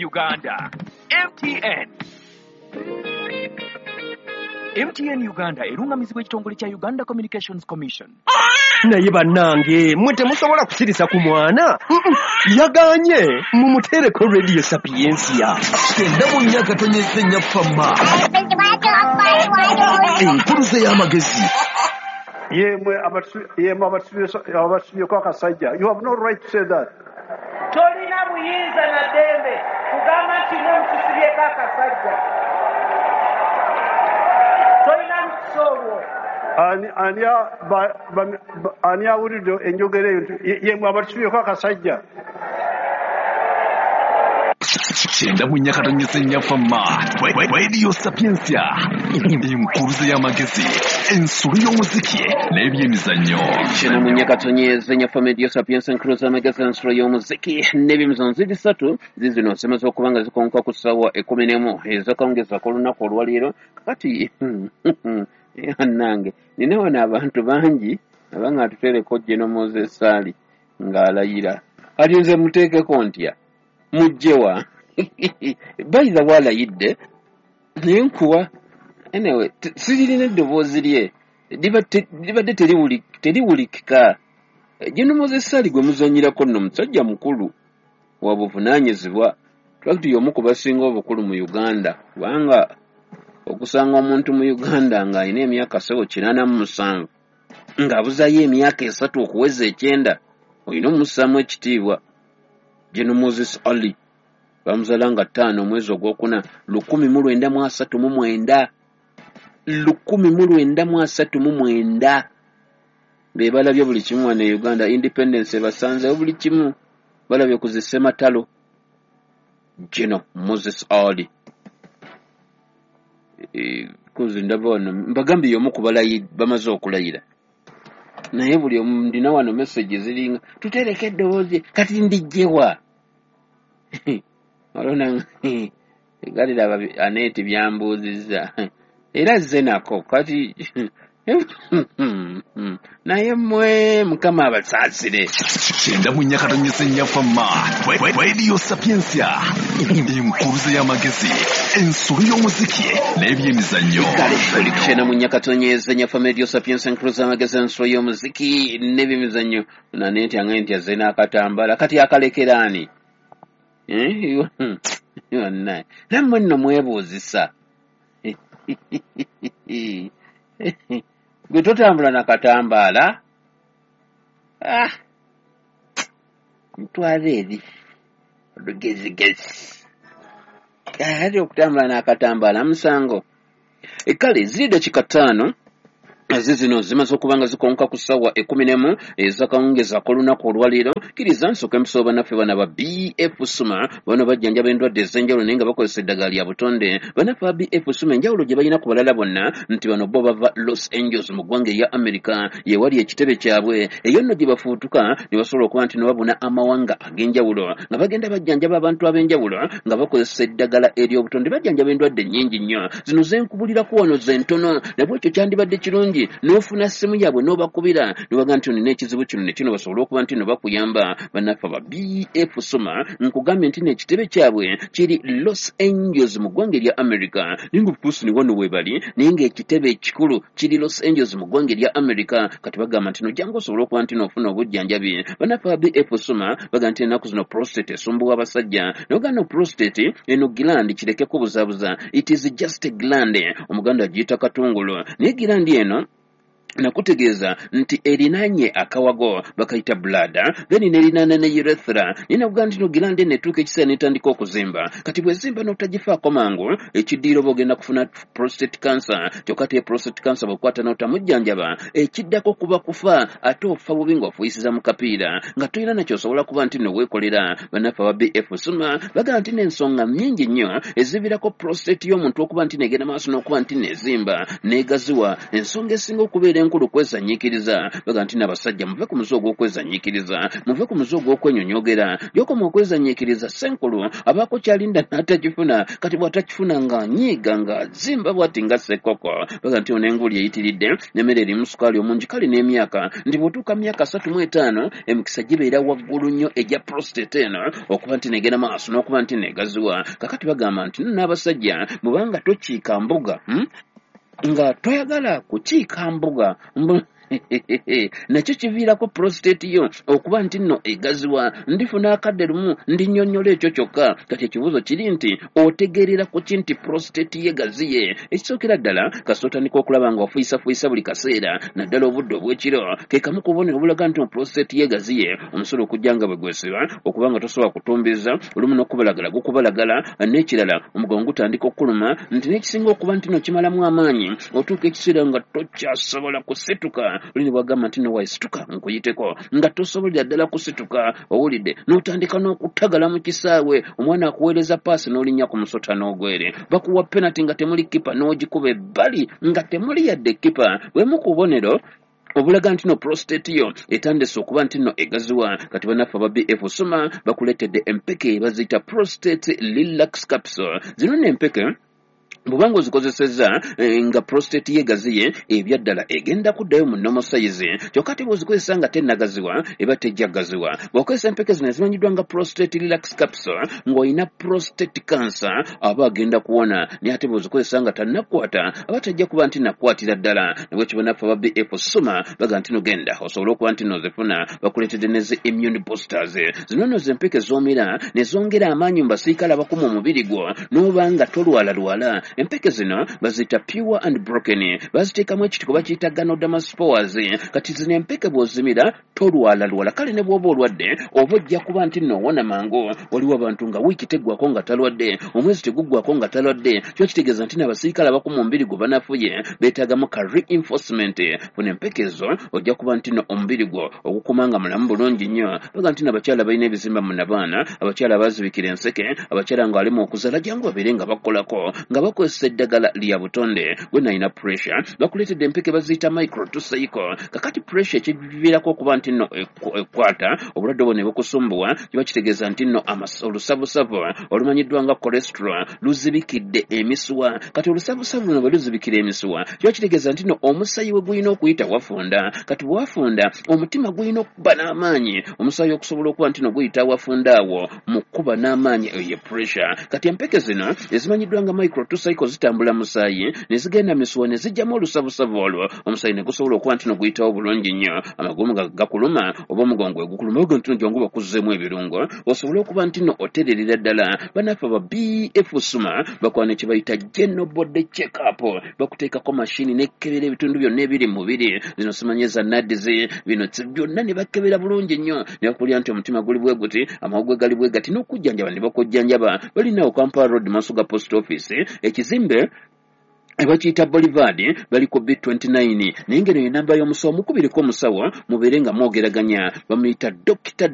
Uganda. MTN. MTN Uganda erungamizibwa ekitongole kya Uganda Communications Commission. Naye bannange mmwe temusobola kusirisa ku mwana. Yaganye mumuteereko Radio Sapientia. 94.4 Fama. Enkuluze y'amagezi. Yemwe abasubyeko akasajja. You have no right to say that. Tolina buyinza na ddembe kugamba nti mwe mutusibyeko akasajja. Tolina lukusa olwo. Ani awulidde enjogera eyo nti yemwe abatusibyeko akasajja. 94.4 Fama. Radio Sapientia. Enkuluze y'amagezi. Ensolo y'omuziki n'ebyemizannyo. 94.4 Fama Radio Sapientia, enkuluze y'amagezi, ensolo y'omuziki n'ebyemizannyo. Ziri ssatu zizino zimaze okuba nga zikonka ku ssaawa 11 ez'akawungeezi ak'olunaku olwaleero. Kakati nange nina wano abantu bangi abanga atuteereko General Moses Ali ng'alayira. Kati nze muteekeko ntya? Mujjewa. By the way, alayidde naye nkuwa. Anyway, siririna eddoboozi lye libadde teriwulikika. General Moses Ali gwe muzannyirako nno musajja mukulu wa buvunaanyizibwa. Twakiti y'omu ku basinga obukulu mu Uganda, kubanga okusanga omuntu mu Uganda ng'alina emyaka 87 ng'abuzaayo emyaka 3 okuweza 90, olina omussaamu ekitiibwa. General Moses Ali bamuzaala nga 5 omwezi ogwokuna 1939, 1939. Be balabye buli kimu wano e Uganda. Independence ebasanzeewo buli kimu, balabye ku zissematalo. General Moses Ali kuzi ndaba wano mbagambye y'omu ku bamaze okulayira, naye buli omu ndina wano message ziringa tutereke eddoboozi, kati ndijjewa? Olona galiraba Aneti byambuuzizza era azze nako kati. Naye mmwe Mukama abasaasire. 94.4 Fama. Radio Sapientia. Enkuluze y'amagezi, ensolo y'omuziki n'ebyemizannyo. Kale oli ku 94.4 Fama Radio Sapientia, enkuluze y'amagezi, ensolo y'omuziki n'ebyemizannyo. Nanenti angaye nti azze n'akatambala, kati akalekera ani? Nammwe nno mwebuuzisa. Gwe totambula na katambaala? Ntwala eri olugezigezi. Ate okutambula n'akatambaala musango. Kale ziri dakika 5 zino zimaze okuba nga zikonka ku ssaawa 11 ez'akawungeezi ak'olunaku olwaleero. Kkiriza nsooke mpisooba bannaffe bano aba BF Suma. Bano bajjanjaba endwadde ez'enjawulo naye nga bakozesa eddagala lya butonde. Bannaffe aba BF Suma enjawulo gye balina ku balala bonna nti bano bo bava Los Angeles mu ggwanga erya America, ye wali ekitebe kyabwe. Eyo nno gye bafuutuka ne basobola okuba nti ne babuna amawanga ag'enjawulo nga bagenda bajjanjaba abantu ab'enjawulo nga bakozesa eddagala ery'obutonde. Bajjanjaba endwadde nnyingi nnyo. Zino ze nkubulirako wano ze ntono, nabwekyo kyandibadde kirungi n'ofuna ssimu yaabwe n'obakubira ne bagamba nti olina ekizibu kino ne kino, basobole okuba nti no bakuyamba. Bannaffe aba BF Suma nkugambye nti n'ekitebe kyabwe kiri Los Angeles mu ggwanga erya America, naye nga of course ne wano we bali, naye ng'ekitebe ekikulu kiri Los Angeles mu ggwanga erya America. Kati bagamba nti nojjangu osobole okuba nti n'ofuna obujjanjabi. Bannaffe aba BF Suma bagamba nti ennaku zino prostate esumbuwa abasajja. Naye ogamba no prostate eno gland kireke kubuzaabuza, it is just a gland, Omuganda agiyita katungulu, naye gland eno nakutegeeza nti erinaanye akawago bakayita bladder, then nerinaana ne urethra. Naye nakugamba nti no gland eno etuuka ekiseera n'etandika okuzimba. Kati bwezimba n'otagifaako mangu, ekiddiiro oba ogenda kufuna prostate cancer. Kyokka te prostate cancer bw'okwata n'otamujjanjaba, ekiddako kuba kufa, ate ofa bubi ng'ofuuyisiza mu kapiira nga tolina nakyosobola kuba nti nno weekolera. Bannaffe aba BF Suma bagamba nti n'ensonga nnyingi nnyo eziviirako prostate y'omuntu okuba nti negenda maaso n'okuba nti nezimba n'egaziwa. Ensonga esinga okubeera enkulu kwezanyiikiriza. Baga nti n'abasajja muve ku muze ogw'okwezanyiikiriza, muve ku muze ogw'okwenyonyogera. Gy'okoma okwezanyiikiriza, ssenkulu abaako kyalinda n'atakifuna. Kati bw'atakifuna ng'anyiiga, ng'azimba bw'ati nga ssekkoko. Baga nti ono enguli eyitiridde n'emmere erimu sukaali omungi. Kale n'emyaka, nti bw'otuuka myaka 35, emikisa gibeera waggulu nnyo egya prostate eno okuba nti negenda maaso n'okuba nti negaziwa. Kakati bagamba nti nno n'abasajja, bw'obanga tokiika mbuga, nga toyagala kukiika mbuga, nakyo kiviirako prostate yo okuba nti nno egaziwa. Ndifuna akadde lumu ndinnyonnyola ekyo kyokka. Kati ekibuuzo kiri nti otegeerera ku ki nti prostate ye gaziye? Ekisookera ddala, kasita otandika okulaba nga ofuyisafuuyisa buli kaseera, naddala obudde obw'ekiro, ke kamu ku bubonero obulaga nti prostate ye gaziye. Omusolo okujja nga bwe gwesiba, okuba nga tosobola kutumbiza olumu n'okubalagala gukubalagala. N'ekirala, omugongo gutandika okukuluma, nti n'ekisinga okuba nti no kimalamu amaanyi, otuuka ekiseera nga tokyasobola kusituka. Oli ne bwagamba nti nowayisituka nkuyiteko, nga tosobolera ddala kusituka. Owulidde n'otandika n'okutagala mu kisaawe, omwana akuweereza paasi n'olinnya ku musota n'ogwere, bakuwa penalty nga temuli kipa n'ogikuba ebbali nga temuli yadde kipa. Bwemu ku bubonero obulaga nti no prostate yo etandise okuba nti no egaziwa. Kati bannaffe aba BF Soma bakuleetedde empeke baziyita Prostate Relax Capsule. Zino nno empeke bw'obanga ozikozesezza nga prostate ye gaziye, ebyaddala egenda kuddayo mu normal size. Kyokka ate bw'ozikozesa nga tennagaziwa, eba tejja gaziwa. Bw'okozesa empeke zino ezimanyiddwa nga Prostate Relax Capsule ng'olina prostate cancer, aba agenda kuwona, naye ate bw'ozikozesa nga tannakwata, aba tajja kuba nti nakwatira ddala. Nabwekyo bannaffe aba BF Soma baga nti nogenda osobole okuba nti nozifuna. Bakuleetedde ne zi immune boosters. Zino nno zempeke z'omira ne zongera amaanyi mu basirikale abakuma omubiri gwo, n'oba nga tolwalalwala. Empeke zino baziyita Pure and Broken, baziteekamu ekitiko bakiyita Ganoderma spores. Kati zino empeke bw'ozimira tolwalalwala. Kale ne bw'oba olwadde, oba ojja kuba nti nno owona mangu. Waliwo abantu nga wiiki teggwako nga talwadde, omwezi teguggwako nga talwadde. Kiba kitegeeza nti n'abasirikale abakuma omubiri gwo banafuye, beetaagamu ka reinforcement. Funa empeke ezo, ojja kuba nti nno omubiri gwo ogukuma nga mulamu bulungi nnyo. Baga nti n'abakyala balina ebizimba mu nabaana, abakyala bazibikira enseke, abakyala nga alimu okuzaala, jangu babeere nga bakolako nga bakozesa eddagala lya butonde. Gwe nalina pressure, bakuleetedde empeke baziyita Micro Tuseiko. Kakati pressure ekiviirako okuba nti nno ekwata obulwadde obwo ne bukusumbuwa, kiba kitegeeza nti nno olusavusavu olumanyiddwa nga cholesterol luzibikidde emisuwa. Kati olusavusavu luno bwe luzibikira emisuwa, kiba kitegeeza nti nno omusaayi we gulina okuyita wafunda. Kati bwewafunda, omutima gulina okuba n'amaanyi, omusaayi okusobola okuba nti no guyita wafunda awo mu kuba n'amaanyi, eyo ye pressure. Kati empeke zino ezimanyiddwa nga Micro Tucycle zitambula musaayi ne zigenda misuwa ne zijjamu olusavusavu olwo, omusaayi ne gusobola okuba nti no guyitawo bulungi nnyo. Amagumba nga gakuluma oba omugongo gwe gukuluma, oga nti no jangu bakuzzeemu ebirungo osobole okuba nti no otererera ddala. Bannaffe aba BF Suma bakwana kye bayita general body check up. Bakuteekako mashini nekebera ebitundu byonna ebiri mu mubiri, zino simanyi eza nadizi, bino byonna ne bakebera bulungi nnyo ne bakulya nti omutima guli bwe guti, amawuggwe gali bwe gati, n'okujjanjaba ne bakujjanjaba. Balinawo Kampala Road, maaso ga post office, ekizimbe bakiyita Boulevard, bali ku B29. Naye ngeno ye namba y'omusawo, mukubireko omusawo mubeere nga mwogeraganya. Bamuyita Dr.